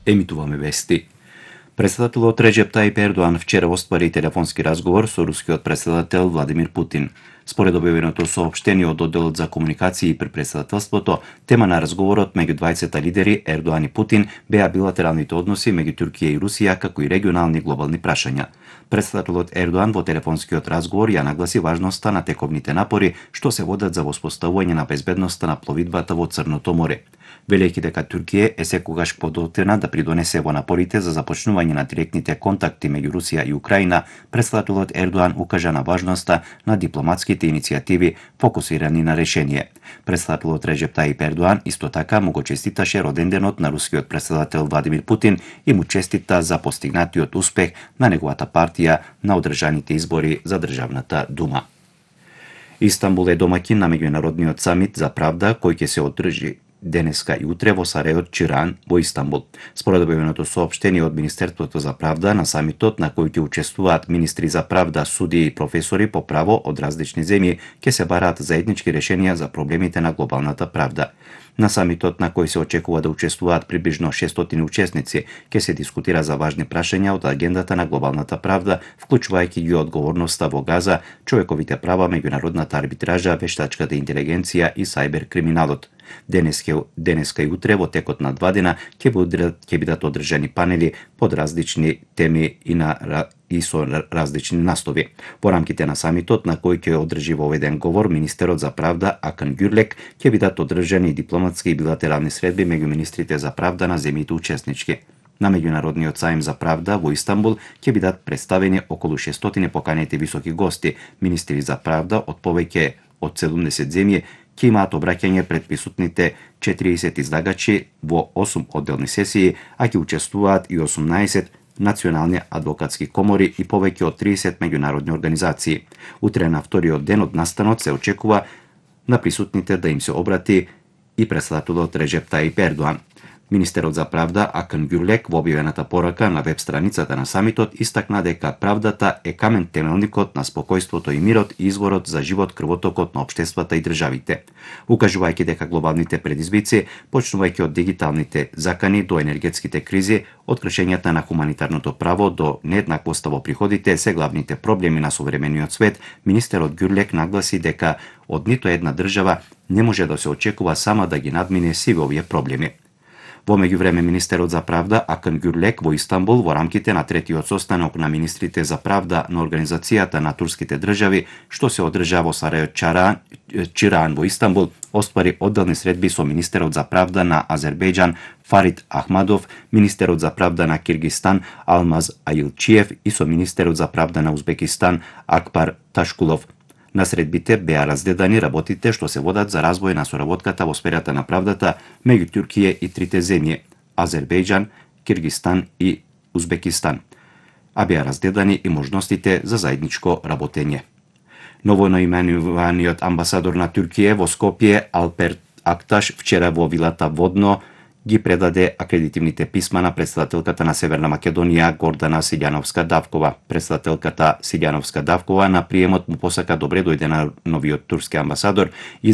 Емитуваме вести. Председателот Реджеп Тајип Ердоан вчера оствари телефонски разговор со рускиот председател Владимир Путин. Според објавеното соопштение од одделот за комуникации при председателството, тема на разговорот меѓу двајцата лидери Ердоан и Путин беа билатералните односи меѓу Туркија и Русија, како и регионални глобални прашања. Председателот Ердоан во телефонскиот разговор ја нагласи важноста на тековните напори што се водат за воспоставување на безбедноста на пловидбата во Црното море. Велејќи дека Туркија е секогаш подготвена да придонесе во напорите за започнување на директните контакти меѓу Русија и Украина, председателот Ердоан укажа на важноста на дипломатските иницијативи фокусирани на решение. Председателот Реджеп Тајип Ердоан исто така му го честиташе роденденот на рускиот председател Владимир Путин и му честита за постигнатиот успех на неговата партија на одржаните избори за државната дума. Истанбул е домаќин на меѓународниот самит за правда кој ќе се одржи денеска и утре во Сарајот Чиран во Истанбул. Според објавеното соопштение од Министерството за правда, на самитот на кој ќе учествуваат министри за правда, судии и професори по право од различни земји, ќе се бараат заеднички решенија за проблемите на глобалната правда. На самитот на кој се очекува да учествуваат приближно 600 учесници, ќе се дискутира за важни прашања од агендата на глобалната правда, вклучувајќи и одговорноста во Газа, човековите права, меѓународната арбитража, вештачката интелигенција и сајбер криминалот. Денеска и утре во текот на 2 дена ќе бидат одржани панели под различни теми и со различни наслови. Во рамките на самитот на кој ќе одржи воведен говор министерот за правда Акан Гюрлек, ќе бидат одржани дипломатски и билатерални средби меѓу министрите за правда на земјите учеснички. На меѓународниот сајм за правда во Истанбул ќе бидат представени околу 600 поканети високи гости, министри за правда од повеќе од 70 земји, ќе имаат обраќање пред присутните 40 излагачи во 8 одделни сесии, а ќе учествуваат и 18 национални адвокатски комори и повеќе од 30 меѓународни организации. Утре на вториот ден од настанот се очекува на присутните да им се обрати и председателот Реджеп Тајип Ердоан. Министерот за правда Акан Гюрлек во објавената порака на веб страницата на самитот истакна дека правдата е камен темелникот на спокојството и мирот и изворот за живот крвотокот на општествата и државите. Укажувајќи дека глобалните предизвици, почнувајќи од дигиталните закани до енергетските кризи, од кршењата на хуманитарното право до нееднаквоста во приходите се главните проблеми на современиот свет, министерот Гюрлек нагласи дека од ниту една држава не може да се очекува сама да ги надмине сиве овие проблеми. Во меѓувреме министерот за правда Акан Гюрлек во Истанбул во рамките на третиот состанок на министрите за правда на Организацијата на турските држави, што се одржа во Сарајот Чиран во Истанбул, оствари одделни средби со министерот за правда на Азербејџан Фарид Ахмадов, министерот за правда на Киргистан Алмаз Аилчиев и со министерот за правда на Узбекистан Акбар Ташкулов. На средбите беа разгледани работите што се водат за развој на соработката во сферата на правдата меѓу Туркија и трите земји Азербејџан, Киргистан и Узбекистан, а беа разгледани и можностите за заедничко работење. Новонаименуваниот амбасадор на Туркија во Скопје Алпер Акташ вчера во вилата Водно ги предаде акредитивните писма на председателката на Северна Македонија Гордана Силјановска-Давкова. Председателката Силјановска-Давкова на приемот му посака добре дојде на новиот турски амбасадор и